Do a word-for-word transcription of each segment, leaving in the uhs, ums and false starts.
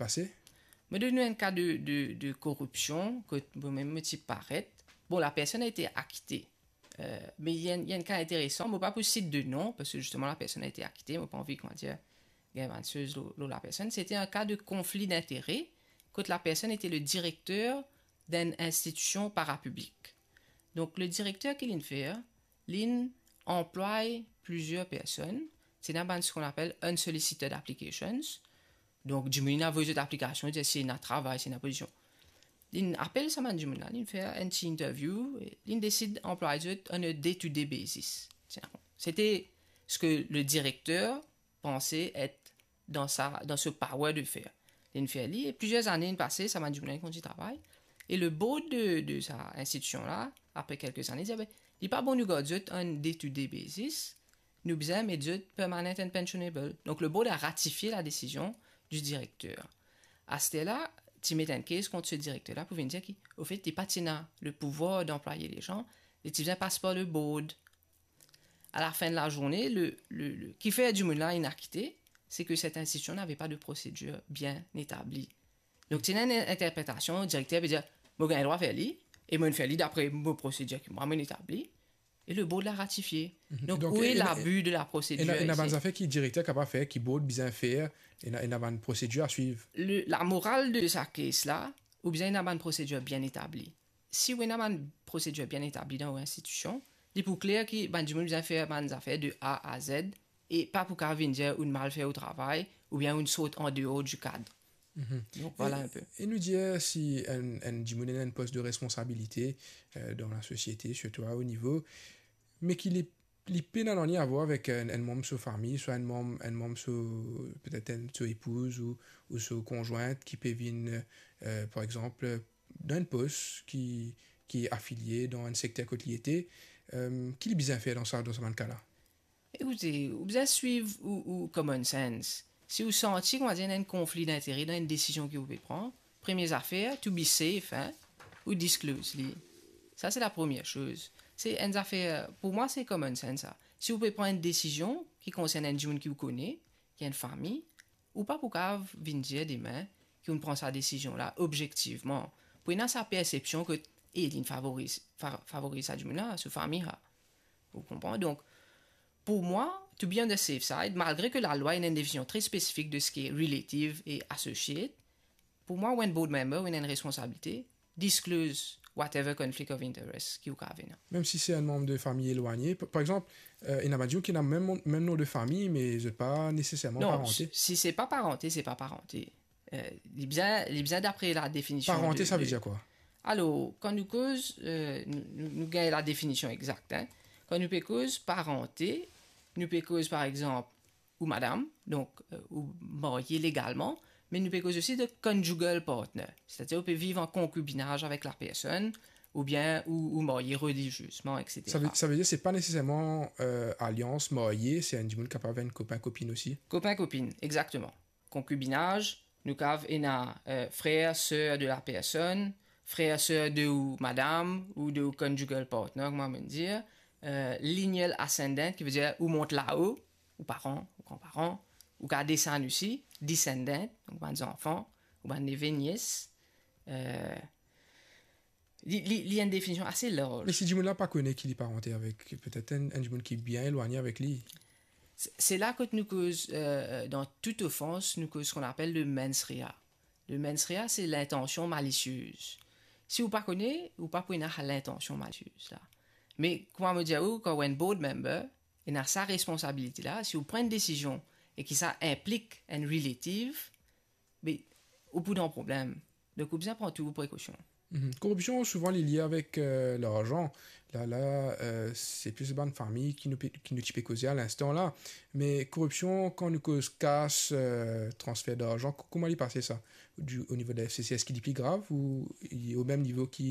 pase? Mo donn nou enn ka de, de, de koripsion, kot mo mem mo ti paret. Bon, la personne a été acquittée. Euh, me li enn, li enn ka interesan, mo pa pou sit de nom, parski zisteman la personne a été acquittée, mo pa anvi, kouma dir, gagn bann soz lor, lor la personne. C'était un cas de conflit d'intérêt, kot la personne était le directeur d'une institution parapublique. Donk, le direkter ki linn fer, linn anplway plizier personn, ti ena bann, ce qu'on appelle unsolicited applications. Donk, dimoun inn avoy zot aplikasion, dir si ena travay, si ena pozision. Linn apel sa bann dimoun la, linn fer enn ti interview, e linn desid anplway zot on a day-to-day basis. Ti ena, c'était ce que le directeur pensait être dans sa, dans ce power de faire. Linn fer li, e plizier zane inn pase, sa bann dimoun la inn kontign travay. E le board de, de sa institusion la, apre kelke zane, dir, "Be, li pa bon nou gard zot on day-to-day basis, nou bizin met zot permanent and pensionable." Donk, le board a ratifie la décision du directeur. Aster la, ti met enn case kont se direkter la pou vinn dir ki, au fait, li pa ti ena le pouvoir d'employer les gens, li ti bizin pas par le board. À la fin de la journée, le, le, le, ki fer dimoun la inn akite, c'est que cette institution n'avait pas de procédure bien établie. Donk, ti ena enn interpretasion, direkter pe dir, "Mo gagn drwa fer li, e mo'nn fer li dapre mo prosedir ki mwa mo'nn etabli, e le board la ratifie." Mhm. Donk, donk, où est l'abus de la procédure ici? Ena, ena bann zafer ki direkter kapav fer, ki board bizin fer, ena, ena bann prosedir a swiv. Le, la morale de sa case la, ou bizin ena bann prosedir bien etabli. Si ou ena bann prosedir bien etabli dan ou institusion, li pou kler ki bann dimoun bizin fer bann zafer de A à Z, e pa pou kapav vinn dir ou'nn mal fer ou travay, oubien ou'nn sort an deor du kad. Mhm. Donk, vwala enn pe. E nou dir si enn, enn dimoun ena enn pos de responsabilite, euh, dan lasosiete, sirtou a o nivo, me ki li, li pena nanye a vwar avek enn, enn manm so fami, swa enn manm, enn manm so, petet enn so epouz ou, ou so konzwint ki pe vinn, euh, par exanp, dan enn pos ki, ki afilie dan enn sekter kot li ete, euh, ki li bizin fer dan sa, dan sa bann ka la? Ekoute, ou bizin swiv ou, ou common sense. Si ou santi, kouma dir, ena enn konfli dintere dan enn desizion ki ou pe pran, premie zafer, to be safe, hein, ou disclose li. Sa, se la premie soz. Se enn zafer, pou mwa, se common sense, sa. Si ou pe pran enn desizion ki konsern enn dimoun ki ou kone, ki enn fami, ou pa pou kapav vinn dir demin ki ou'nn pran sa desizion la obzektivman. Pou ena sa persepsion ke, e, li'nn favoriz, fa-, favoriz sa dimoun la, so fami la. Ou konpran? Donk, pou mwa, to be on the safe side, malgre ke lalwa ena enn definision tre spesifik de seki relative e associate, pou mwa, ou enn board member, ou ena enn responsabilite, disclose whatever conflict of interest ki ou kapav ena. Mem si se enn manm de fami elwagne, pa, par exanp, euh, ena bann dimoun ki ena mem, mem non de fami, me zot pa neseserman parante. Non, si, si se pa parante, se pa parante. Euh, li bizin, li bizin dapre la definision. Parante, de, sa ve de dir kwa? Alor, kan nou koz, euh, nou, nou, nou gagn la definision exakt, hein. Kan nou pe koz parante, nou pe koz, par exanp, ou madam, donk, euh, ou marye legalman, me nou pe koz osi de conjugal partner, setadir ou pe viv an konkibinaz avek la personn, oubien ou, ou marye reliziezman, et cetera. Sa ve, sa ve dir se pa neseserman, euh, alians, marye, se enn dimoun kapav enn kopin, kopinn osi? Kopin, kopinn, exakteman. Konkibinaz, nou kapav ena, euh, frer, ser de la personn, frer, ser de ou madam, ou de ou conjugal partner, kouma mo'nn dir, euh, lineal ascendant, ki ve dir ou mont lao, ou paran, ou granparan, ou kapav desann osi, descendant, donk bann zanfan, ou bann neve, nies, euh, li, li, li enn definision ase larz. Me si dimoun la pa kone ki li parante avek, petet enn, enn dimoun ki bien elwagne avek li? Se, se la kot nou koz, euh, dan tout ofans, nou koz ce qu'on appelle le mens rea. Le mens rea, se lintansion malisiez. Si ou pa kone, ou pa pou ena lintansion malisiez la. Me, kouma mo dir ou, kan ou enn board member, ena sa responsabilite la, si ou pran enn desizion e ki sa inplik enn relative, be, ou pou dan problem. Donk, ou bizin pran tou prekosion. Mhm. Koripsion, souvan, li lie avek, euh, larzan. La, la, euh, se plis bann fami ki nou pe, ki nou ti pe koze a linstan la. Me koripsion, kan nou koz kas, euh, transfer darzan, ko-, kouma li pase sa? Du, o nivo de la F C C, eski li pli grav ou li o mem nivo ki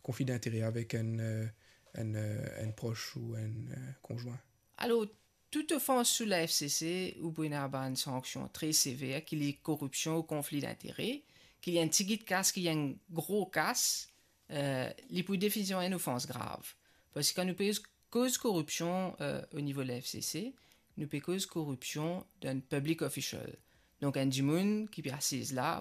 konfli dintere avek enn, euh, enn, euh, enn pros ou enn, euh, konzwin? Alor, tout ofans sou la F C C, ou pou ena bann sanksion tre sever, ki li koripsion ou konfli dintere, ki li enn tigit kas, ki li enn gro kas, euh, li pou definitivman enn ofans grav. Parski kan nou pe koz koripsion, euh, o nivo la F C C, nou pe koz koripsion dan public official. Donk, enn dimoun ki pe asiz la,